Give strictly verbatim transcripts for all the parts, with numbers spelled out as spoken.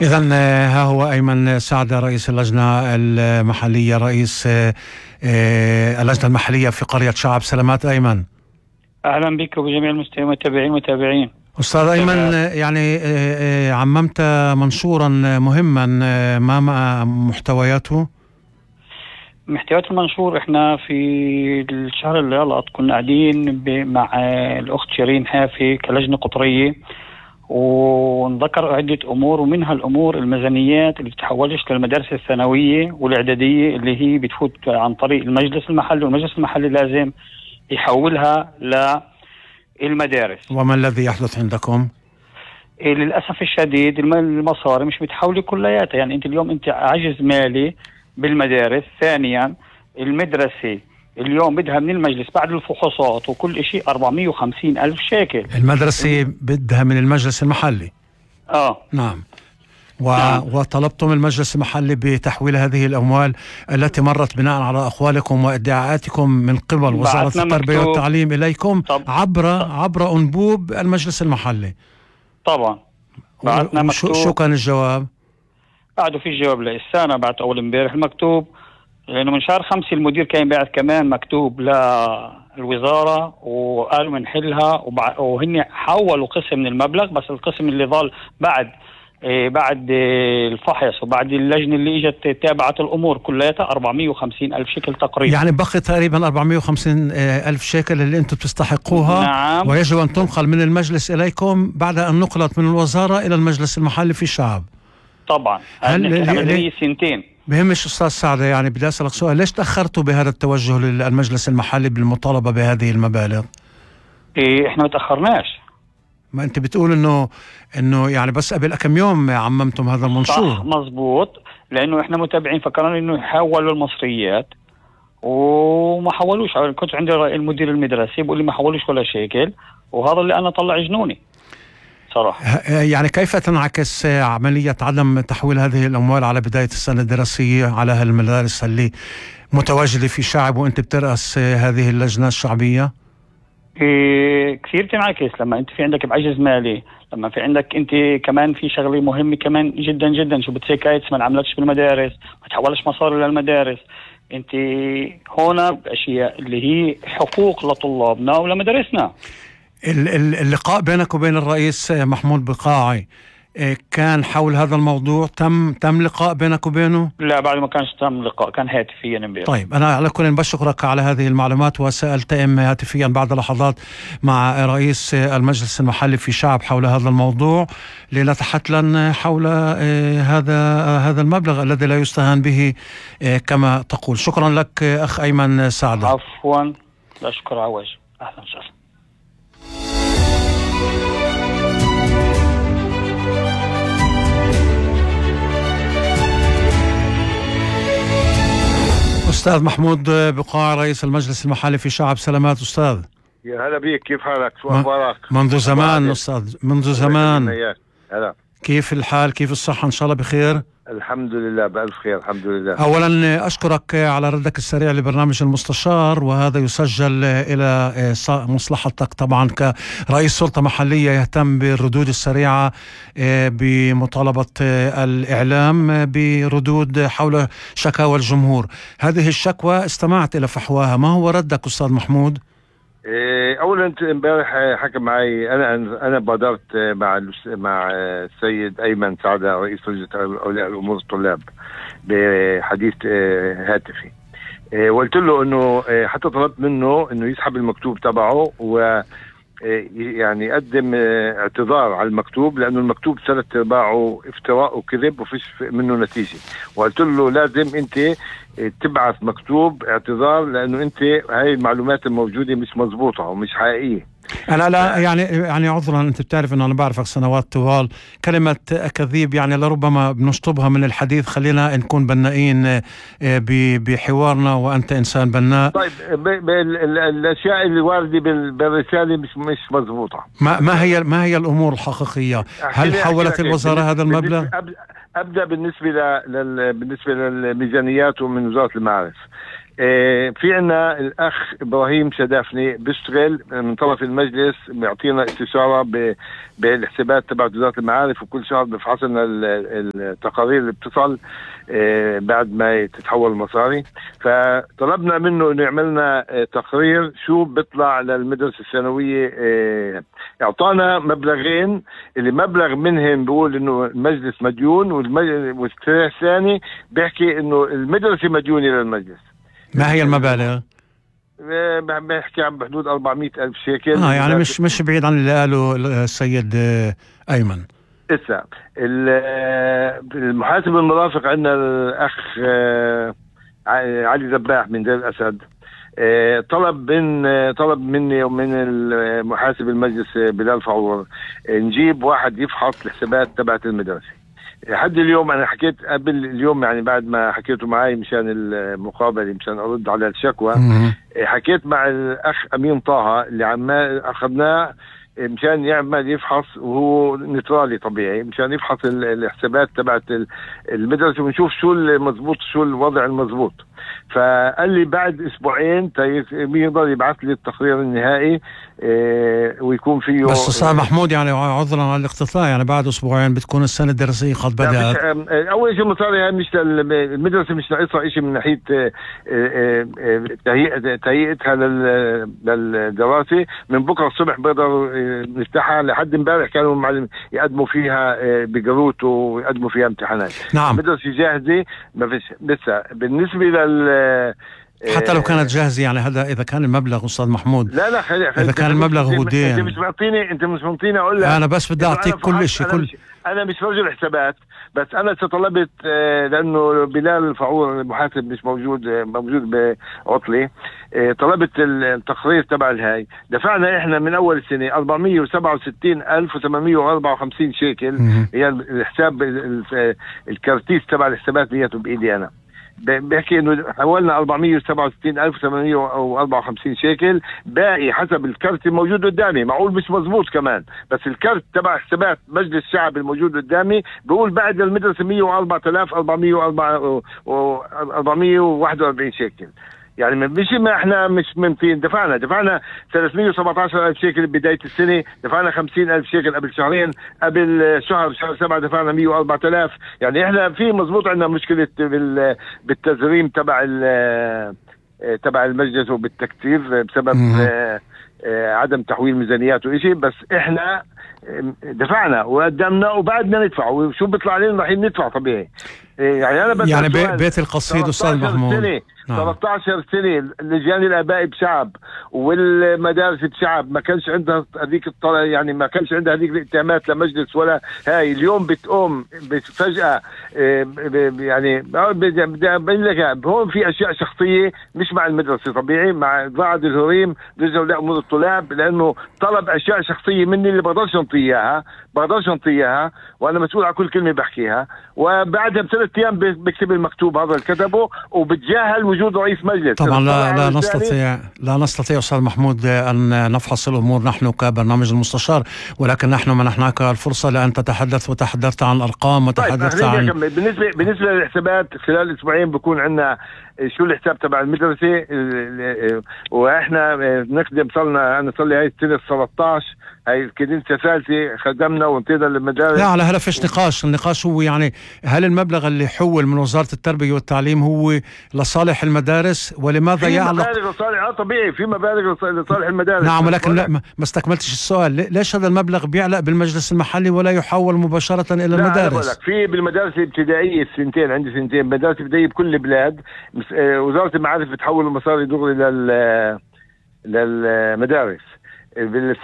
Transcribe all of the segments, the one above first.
إذن ها هو أيمن سعدة رئيس اللجنة المحلية، رئيس اللجنة المحلية في قرية شعب سلامات. أيمن، أهلا بك وبجميع المستمعين والمتابعين. أستاذ أيمن، يعني عممت منشورا مهما، ما محتوياته؟ محتويات المنشور، احنا في الشهر اللي غلط كنا قاعدين مع الأخت شيرين حافي كلجنة قطرية، ونذكر عدة أمور، ومنها الأمور الميزانيات اللي بتحولش للمدارس الثانوية والإعدادية اللي هي بتفوت عن طريق المجلس المحلي، والمجلس المحلي لازم يحولها للمدارس. وما الذي يحدث عندكم؟ إيه للأسف الشديد المصاري مش متحولة كلياتها. يعني أنت اليوم أنت عجز مالي بالمدارس. ثانيا المدرسة اليوم بدها من المجلس بعد الفحوصات وكل شيء أربعمية وخمسين ألف شيكل. المدرسة بدها من المجلس المحلي. آه نعم. و... نعم. وطلبتم المجلس المحلي بتحويل هذه الأموال التي مرت بناء على أقوالكم وادعاءاتكم من قبل وزارة التربية والتعليم إليكم طب. عبر عبر أنبوب المجلس المحلي. طبعا بعتنا مكتوب. شو كان الجواب؟ بعده في جواب لسه، بعت أول امبارح المكتوب، لأنه من شهر خمسة المدير كان بعت كمان مكتوب للوزارة وقالوا منحلها، وهن حولوا قسم من المبلغ، بس القسم اللي ظل بعد إيه بعد إيه الفحص وبعد اللجنة اللي اجت تابعت الأمور كلياتها أربعمية وخمسين ألف شيكل تقريبا. يعني بقي تقريبا أربعمية وخمسين ألف شيكل اللي أنتم تستحقوها. نعم. ويجب أن تنقل من المجلس إليكم بعد أن نقلت من الوزارة إلى المجلس المحلي في الشعب. طبعا هل هل سنتين بهمش أستاذ سعدة؟ يعني بدي أسألك سؤال، ليش تأخرتوا بهذا التوجه للمجلس المحلي بالمطالبة بهذه المبالغ؟ إيه احنا ما تأخرناش. ما أنت بتقول إنه إنه يعني بس قبل كم يوم عممتم هذا المنشور. صح مزبوط، لأنه إحنا متابعين فكرنا إنه يحولوا المصريات وما حولوش. كنت عندي المدير المدرسي بيقول لي ما حولوش ولا شيكل، وهذا اللي أنا طلع جنوني صراحة. يعني كيف تنعكس عملية عدم تحويل هذه الأموال على بداية السنة الدراسية على هالمدارس اللي متواجدة في شعب وأنت بترأس هذه اللجنة الشعبية؟ إيه كثير تنعكس لما أنت في عندك بعجز مالي، لما في عندك أنت كمان في شغلة مهمة كمان جدا جدا، شو بتسيكايتس ما نعملكش بالمدارس، ما تحولش مصاري للمدارس. أنت هنا بأشياء اللي هي حقوق لطلابنا ولمدارسنا. اللقاء بينك وبين الرئيس محمود بقاعي كان حول هذا الموضوع؟ تم تم لقاء بينك وبينه؟ لا بعد ما كانش تم لقاء، كان هاتفيا امبارح. طيب أنا على كل بشكرك على هذه المعلومات، وسألتئم هاتفيا بعد لحظات مع رئيس المجلس المحلي في شعب حول هذا الموضوع لنتحدث حول هذا هذا المبلغ الذي لا يستهان به كما تقول. شكرا لك أخ أيمن سعدة. عفوا، لا شكر عواج. أهلا وسهلا. أستاذ محمود بقاع رئيس المجلس المحلي في شعب سلامات. أستاذ يا هلا بيك، كيف حالك؟ شو أخبارك؟ منذ زمان أستاذ، منذ زمان. هلا، كيف الحال؟ كيف الصحة؟ إن شاء الله بخير. الحمد لله بألف خير الحمد لله. أولا أشكرك على ردك السريع لبرنامج المستشار، وهذا يسجل إلى مصلحتك طبعا كرئيس سلطة محلية يهتم بالردود السريعة بمطالبة الإعلام بردود حول شكاوى الجمهور. هذه الشكوى استمعت إلى فحواها، ما هو ردك أستاذ محمود؟ اولا امبارح حكى معي، انا انا بادرت مع مع السيد ايمن سعدة رئيس لجنة اولياء الامور الطلاب بحديث هاتفي، وقلت له انه حتى طلبت منه انه يسحب المكتوب تبعه و يعني يقدم اعتذار على المكتوب، لانه المكتوب ثلاث ارباعه افتراء وكذب وفيش منه نتيجه. وقلت له لازم انت تبعث مكتوب اعتذار، لانه انت هاي المعلومات الموجوده مش مزبوطه ومش حقيقيه. أنا لا يعني يعني عذرا، أنت بتعرف أنه أنا بعرفك سنوات طوال، كلمة أكاذيب يعني لربما بنشطبها من الحديث، خلينا نكون بنائين بحوارنا وأنت إنسان بناء. طيب الأشياء اللي واردة بالرسالة مش مش مزبوطة. ما ما هي ما هي الأمور الحقيقية؟ هل حولت الوزارة هذا المبلغ؟ أبدأ بالنسبة لل بالنسبة للميزانيات ومن وزارة المعارف. في عنا الأخ إبراهيم شدافني بيشتغل من طرف المجلس، بيعطينا استشارة بالحسابات تبع وزارة المعارف، وكل شهر بفحص لنا التقارير اللي بتصل بعد ما تتحول المصاري. فطلبنا منه إنه يعملنا تقرير شو بيطلع للمدرسة الثانوية. اعطانا مبلغين، اللي مبلغ منهم بيقول إنه المجلس مديون، والثاني بيحكي إنه المدرسة مديونة للمجلس. ما هي المبالغ؟ بحكي عن بحدود أربعمية ألف شيكل. اه يعني مش مش بعيد عن اللي قاله السيد أيمن. إسا المحاسب المرافق عندنا الأخ علي ذباح من دير الأسد، طلب من طلب مني ومن المحاسب المجلس بلال فعور نجيب واحد يفحص الحسابات تبعت المدرسة. لحد اليوم أنا حكيت قبل اليوم، يعني بعد ما حكيته معي مشان المقابلة مشان أرد على الشكوى، حكيت مع الأخ أمين طه اللي عم أخذناه مشان يعمل يفحص، وهو نيترالي طبيعي، مشان يفحص الحسابات تبعت المدرسة ونشوف شو المضبوط شو الوضع المضبوط. فقال لي بعد اسبوعين يقدر يبعث لي التقرير النهائي إيه ويكون فيه. بس استاذ محمود يعني عذرا على الاقتطاع، يعني بعد اسبوعين بتكون السنه الدراسيه قد بدات. اول شيء مصاري مش المدرسه مش ناقصها شيء من ناحيه تهيئتها للدراسه. من بكره الصبح بيقدروا نفتحها. لحد امبارح كانوا المعلم يقدموا فيها بجروت ويقدموا فيها امتحانات. نعم. المدرسه جاهزه، ما فيش لسه. بالنسبه لل حتى لو كانت جاهزة، يعني هذا إذا كان المبلغ أستاذ محمود. لا لا خلي خلي إذا كان المبلغ هو دين. أنت مش معطيني أنت مش معطيني أقول لك. أنا بس بدي أعطيك كل شيء. كل أنا مش رجل حسابات، بس أنا طلبت لأنه بلال الفعور المحاسب مش موجود موجود بعطلة، طلبت التقرير تبع الهاي. دفعنا إحنا من أول السنة أربعمية وسبعة وستين ألف وثمانمية وأربعة وخمسين شيكل. هي الحساب الكرتيس تبع الحسابات بيته بإيدي أنا. بحكي انه حولنا أربعمية وسبعة وستين ألف وثمانمية وأربعة وخمسين شيكل، باقي حسب الكرت الموجود قدامي. معقول مش مزبوط كمان، بس الكرت تبع حسابات مجلس الشعب الموجود قدامي بيقول بعد المدرسة مية وأربعة آلاف أربعمية وواحد وأربعين شيكل. يعني مش ما احنا مش ممكن. دفعنا دفعنا ثلاثمية وسبعتاشر ألف شيكل بداية السنة، دفعنا خمسين ألف شيكل قبل شهرين، قبل شهر شهر سبعة دفعنا مية وأربعة آلاف. يعني احنا في مزبوط عندنا مشكلة بالتزريم تبع تبع المجلس وبالتكتيف بسبب عدم تحويل ميزانيات وإشي. بس احنا دفعنا وقدمنا وبعدنا ندفع، وشو بيطلع علينا راح ندفع طبيعي. يعني انا يعني بيت القصيد استاذ محمود ثلاثة عشر سنة لجان الآباء بشعب والمدارس بشعب، ما كانش عندها هذيك الطلع، يعني ما كانش عندها هذيك الائتمامات لمجلس ولا هاي. اليوم بتقوم فجأة يعني بدي أبين لك هون في أشياء شخصية مش مع المدرسة طبيعي، مع بعض الهريم لجنة لأمور الطلاب، لأنه طلب أشياء شخصية مني اللي بقدرش أنطي إياها بقدرش أنطي إياها وأنا مسؤول على كل كلمة بحكيها. وبعدها بثلاث أيام بكتب المكتوب هذا اللي كتبه وبتجاهل وجود رئيس مجلس. طبعا لا لا نستطيع لا نستطيع استاذ محمود ان نفحص الامور نحن كبرنامج المستشار، ولكن نحن منحناك الفرصه لان تتحدث وتحدثت عن ارقام وتحدثت طيب عن بالنسبه بالنسبه للحسابات خلال اسبوعين بكون عندنا شو الحساب تبع المدرسه. واحنا نخدم صلنا انا صار لي هاي السنه ثلاثة عشر، هاي الكنيسه الثالثه خدمنا وانطينا للمدارس. لا على هلا فيش نقاش. النقاش هو يعني هل المبلغ اللي حول من وزاره التربيه والتعليم هو لصالح المدارس، ولماذا في يعلق؟ مبالغ لصالح اه طبيعي في مبالغ لصالح المدارس. نعم، ولكن لا ما استكملتش السؤال. ليش هذا المبلغ بيعلق بالمجلس المحلي ولا يحول مباشره الى المدارس؟ في بالمدارس الابتدائيه السنتين، عندي سنتين مدارس ابتدائيه بكل البلاد، وزاره المعارف بتحول المصاري دغري لل للمدارس.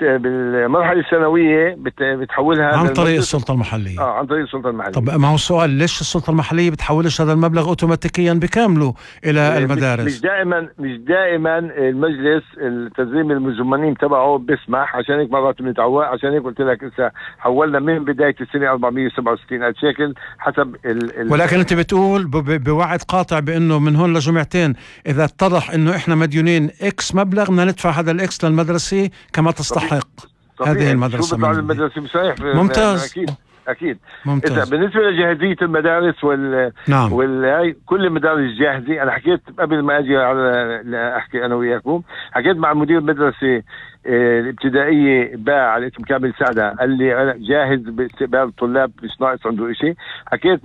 بالمرحله الثانويه بتحولها عن طريق السلطه المحليه. اه عن طريق السلطه المحليه. طب ما هو السؤال، ليش السلطه المحليه بتحولش هذا المبلغ اوتوماتيكيا بكامله الى المدارس؟ مش دائما مش دائما المجلس التنظيم المزمنين تبعه بيسمح، عشان هيك مرات بنتعوق. عشان هيك قلت لك هسه حولنا من بدايه السنه أربعمية وسبعة وستين ألف شيكل حسب ال ال ولكن انت بتقول بوعد قاطع بانه من هون لجمعتين اذا اتضح انه احنا مديونين اكس مبلغ بدنا ندفع هذا الاكس للمدرسه كما تستحق. طبيعي. هذه المدرسة شو بيطلع المدرسة بصحيح. ممتاز. أكيد اكيد. ممتاز. إذا بالنسبه لجاهزيه المدارس وال نعم. وال كل المدارس جاهزه. انا حكيت قبل ما اجي على احكي انا وياكم، حكيت مع مدير المدرسه الابتدائيه باع على اسم كامل سعده، قال لي انا جاهز باستقبال الطلاب، مش ناقص عنده شيء. حكيت